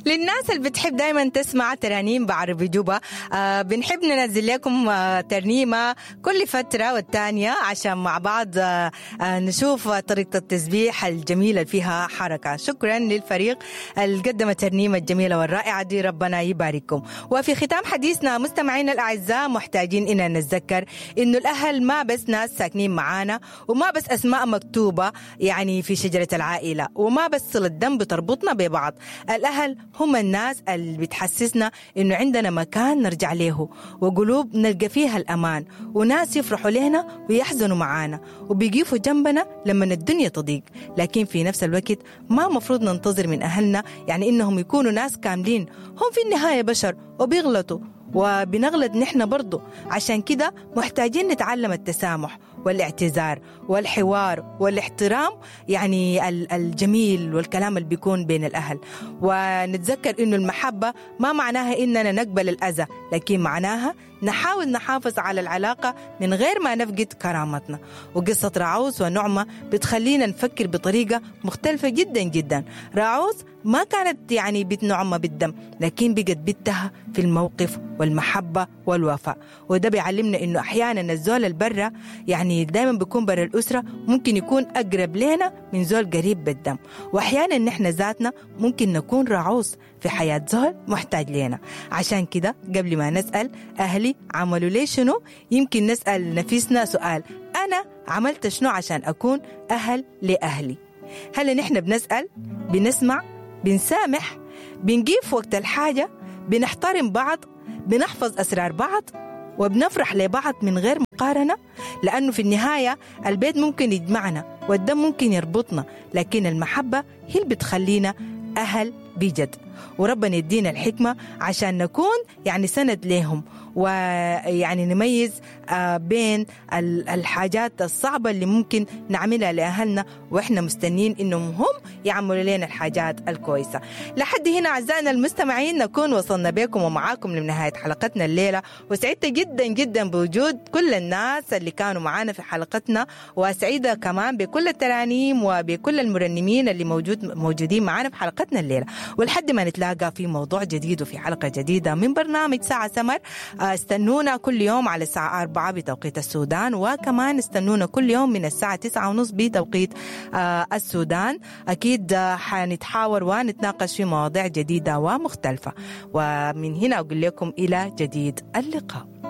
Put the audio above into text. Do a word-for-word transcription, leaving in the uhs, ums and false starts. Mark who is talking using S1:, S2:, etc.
S1: للناس اللي بتحب دايما تسمع ترانيم بعربي جوبا، آه بنحب ننزل لكم آه ترنيمة كل فترة والتانية عشان مع بعض آه آه نشوف طريقة التسبيح الجميلة اللي فيها حركة. شكرا للفريق اللي قدم الترنيمة الجميلة والرائعة دي، ربنا يبارككم. وفي ختام حديثنا مستمعينا الأعزاء، محتاجين إننا نتذكر إنه الأهل ما بس ناس ساكنين معانا، وما بس أسماء مكتوبة يعني في شجرة العائلة، وما بس صلة دم بتربطنا ببعض. الأهل هم الناس اللي بتحسسنا إنه عندنا مكان نرجع له، وقلوب نلقى فيها الأمان، وناس يفرحوا لنا ويحزنوا معانا، وبيقفوا جنبنا لما الدنيا تضيق. لكن في نفس الوقت ما مفروض ننتظر من أهلنا يعني إنهم يكونوا ناس كاملين، هم في النهاية بشر وبيغلطوا وبنغلط نحن برضو. عشان كده محتاجين نتعلم التسامح والاعتذار والحوار والاحترام، يعني الجميل والكلام اللي بيكون بين الأهل. ونتذكر إنه المحبة ما معناها إننا نقبل الأذى، لكن معناها نحاول نحافظ على العلاقة من غير ما نفقد كرامتنا. وقصة راعوث ونعمة بتخلينا نفكر بطريقة مختلفة جدا جدا. راعوث ما كانت يعني بنت نعمة بالدم، لكن بقت بنتها في الموقف والمحبة والوفاء. وده بيعلمنا إنه أحيانا الزول البرة يعني دايما بيكون برا الأسرة ممكن يكون أقرب لنا من زول قريب بالدم، وأحيانا نحن ذاتنا ممكن نكون راعوث في حياة زول محتاج لنا. عشان كده قبل ما نسأل أهلي عملوا لي شنو، يمكن نسأل نفسنا سؤال: أنا عملت شنو عشان أكون أهل لأهلي؟ هل نحن بنسأل، بنسمع، بنسامح، بنقيف وقت الحاجة، بنحترم بعض، بنحفظ أسرار بعض، وبنفرح لبعض من غير مقارنة؟ لأنه في النهاية البيت ممكن يجمعنا والدم ممكن يربطنا، لكن المحبة هي اللي بتخلينا أهل بجد. وربنا يدينا الحكمة عشان نكون يعني سند لهم، ويعني نميز بين الحاجات الصعبة اللي ممكن نعملها لأهلنا وإحنا مستنين إنهم هم يعملوا لنا الحاجات الكويسة. لحد هنا أعزائنا المستمعين نكون وصلنا بكم ومعاكم لنهاية حلقتنا الليلة، وسعدت جدا جدا بوجود كل الناس اللي كانوا معانا في حلقتنا، وسعيدة كمان بكل الترانيم وبكل المرنمين اللي موجود موجودين معانا في حلقتنا الليلة. ولحد ما نتلاقى في موضوع جديد وفي حلقة جديدة من برنامج ساعة سمر، استنونا كل يوم على الساعة أربعة بتوقيت السودان، وكمان استنونا كل يوم من الساعة تسعة ونص بتوقيت السودان. أكيد حنتحاور ونتناقش في مواضيع جديدة ومختلفة. ومن هنا أقول لكم إلى جديد اللقاء.